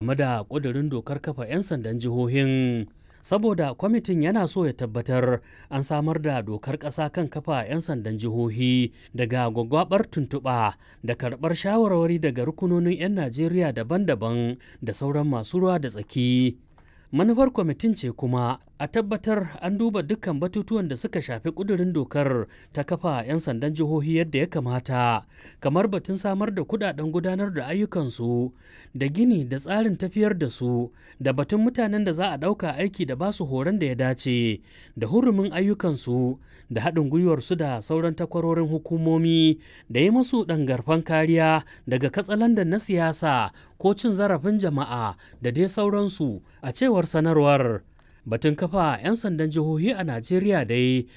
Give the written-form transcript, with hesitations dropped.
Game da ƙudurin dokar kafa 'yan sandan jihohin, saboda kwamitin yana so ya tabbatar an samar da dokar ƙasa kan kafa 'yan sandan jihohi daga gwaggwabar tuntuɓa da karɓar shawarwari daga rukunonin 'yan Najeriya daban-daban da sauran masu ruwa da tsaki. Manufar kwamitin ce kuma a tabbatar an duba dukkan batutuwan da suka shafi ƙudurin dokar ta kafa 'yan sandan jihohi yadda ya kamata, kamar batun samar da kudaden gudanar da ayyukansu da gini da tsarin tafiyar da su, da batun mutanen da za a ɗauka aiki da basu horon da ya dace, da hurumin ayyukansu, da haɗin gwiwarsu da sauran takwarorin hukumomi, da yi masu ɗangarfan kariya daga katsalandan na siyasa ko cin zarafin jama'a da dai sauransu, a cewar sanarwar. Batun kafa 'yan sandan jihohi a Najeriya dai